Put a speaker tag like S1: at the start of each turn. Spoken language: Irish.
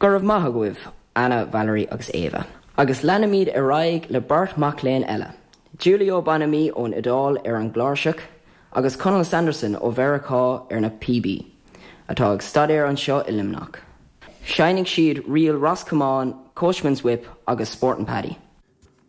S1: Go raibh maith agaibh, Anna, Valerie agus Ava. Agus leanfaimid ar aghaidh le beirt mac léinn eile, Giulio Bonami ón Iodáil ar an gcláirseach agus Conall Sanderson ó Mheiriceá ar na píobaí, atá ag staidéar anseo i Luimneach. Seinnfidh siad ríl Ros Comáin, Coachman's Whip agus Sportin' Paddy.